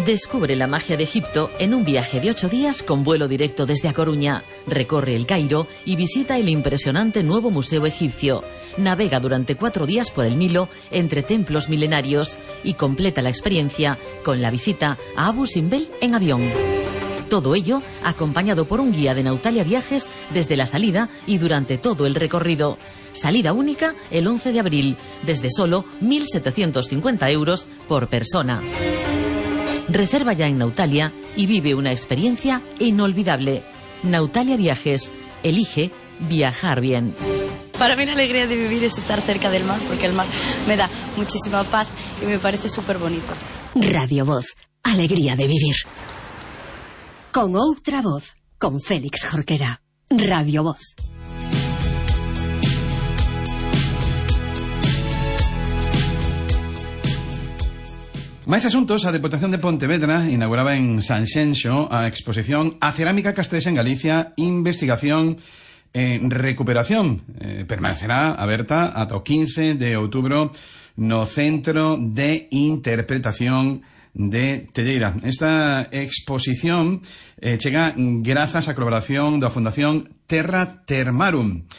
Descubre la magia de Egipto en un viaje de 8 días con vuelo directo desde A Coruña. Recorre el Cairo y visita el impresionante nuevo museo egipcio. Navega durante 4 días por el Nilo entre templos milenarios y completa la experiencia con la visita a Abu Simbel en avión. Todo ello acompañado por un guía de Nautalia Viajes desde la salida y durante todo el recorrido. Salida única el 11 de abril, desde solo 1.750 € por persona. Reserva ya en Nautalia y vive una experiencia inolvidable. Nautalia Viajes. Elige viajar bien. Para mí la alegría de vivir es estar cerca del mar, porque el mar me da muchísima paz y me parece súper bonito. Radio Voz. Alegría de vivir. Con outra voz. Con Félix Jorquera. Radio Voz. Máis asuntos, a Deputación de Pontevedra inauguraba en Sanxenxo a exposición A Cerámica Castrexa en Galicia, Investigación e Recuperación. Permanecerá aberta ata o 15 de outubro no Centro de Interpretación de Telleira. Esta exposición chega grazas á colaboración da Fundación Terra Termarum.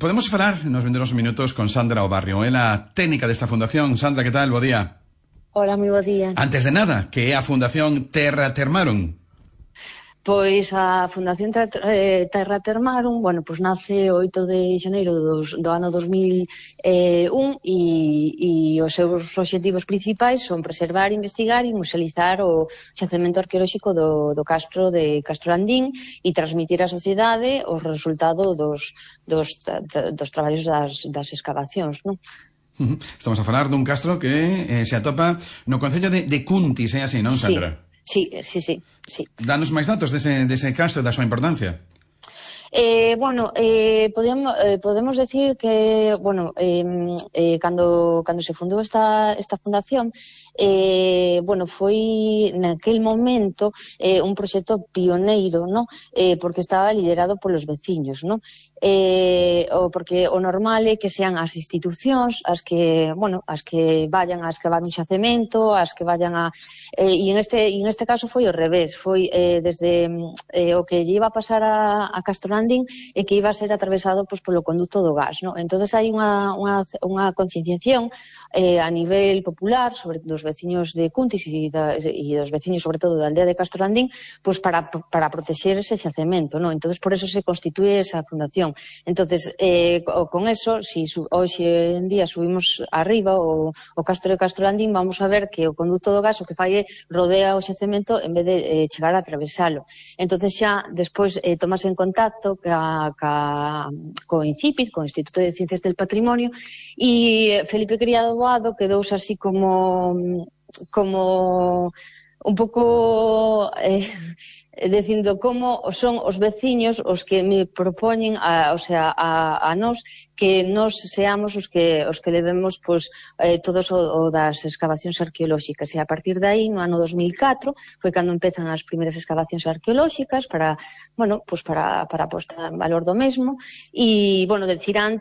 Podemos falar nos vindeiros minutos con Sandra Obarrio, ela técnica desta fundación. Sandra, que tal? Bo día. Hola, moi bo día. Antes de nada, que é a Fundación Terra Termarum? Pois a Fundación Terra Termarum, bueno, pois nace o 8 de xaneiro do ano 2001 e os seus obxectivos principais son preservar, investigar e musealizar o xacemento arqueolóxico do castro de Castrolandín e transmitir á sociedade os resultados dos traballos das escavacións, non? Estamos a falar dun castro que se atopa no concello de Cuntis, é así, non, Sandra? Sí. Danos máis datos dese castro e da súa importancia. Podemos decir que, cando se fundou esta fundación, foi naquel momento un proxecto pioneiro, ¿no? Porque estaba liderado polos veciños, ¿no? Porque o normal é que sean as institucións as que vayan a escavar un xacemento, as que vayan a... E en este caso foi ao revés, foi desde o que lle iba a pasar a Castrolandín e que iba a ser atravesado polo conducto do gas, ¿no? Entonces hai unha concienciación a nivel popular sobre dos veciños de Cuntis e dos veciños sobre todo da aldea de Castrolandín, pois para protexer ese xacemento, ¿no? Entonces por eso se constitúe esa fundación. Entonces con eso, si hoxe en día subimos arriba o castro de Castrolandín, vamos a ver que o conducto do gas o que fai é rodea o xacemento en vez de chegar a atravesalo. Entonces xa despois tomas en contacto co INCIPID, co Instituto de Ciencias del Patrimonio, e Felipe Criado Boado quedou así como un pouco dicindo como son os veciños os que me propoñen a nós que nós seamos os que levemos todos o das excavacións arqueolóxicas, e a partir de aí no ano 2004 foi cando empezan as primeiras excavacións arqueolóxicas para posta en valor do mesmo, e decir antes